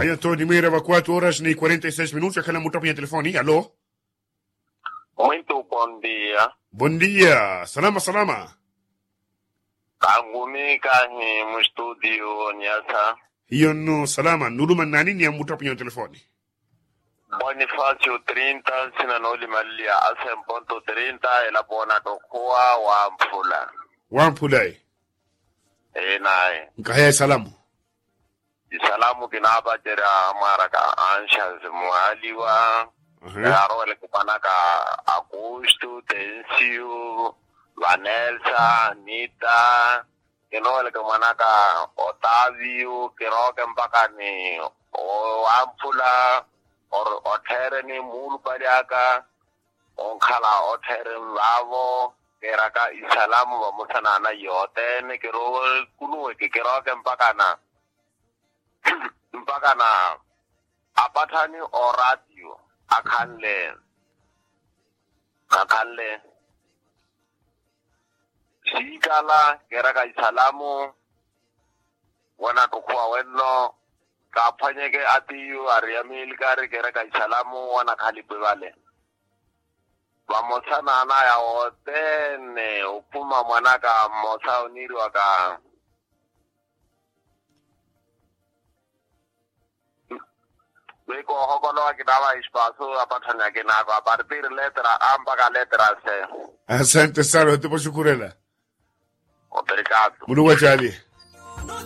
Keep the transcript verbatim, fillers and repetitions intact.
Ayo nto nimwira va quatro horas ni quarenta e seis minutos yakhala muttapu ya telefoni. Alo. Muito bom dia. Bom dia, salama salama. Kangumi kahi mu studio niasa. Hiyo nno salama nuluma nani ni ya muttapu ya telefoni? Bonifacio trinta sina nooli maliya asemponto trinta elapo ona tokhuwa. Wamphula. Wamphula e. Ee naye. Nkaheya esalamu. Isalamu kinaapacerya amwaraka anxansi mwaliwa. Yaaroweleke mwanaka akustu tensiu vanelsa nita. Kinoweleke mwanaka otaviu kirooke mpaka ni wamphula. Ottheereni muulupali aka onkhala ottheereni vaavo. Kiiraka isalamu vamosa n'ana yothene kirowe kuluweke kirooke mpakana mpakana apatthani oraatiyo akhanle akhanle siikala kiiraka isalamu. Wanattukhuwa wenno kaaphwanyeke atiyu ari amiilikari kiiraka isalamu wanakhalipi vale. Vamosa n'anaya wothene ophuma mwanaka mmosa oniiriwaka wi koohokolowa kinaava espasu apatthani akinako apartir letra a mpaka letra c. Asante sana otipo xukurela. Obrigado. Muluku achalihe.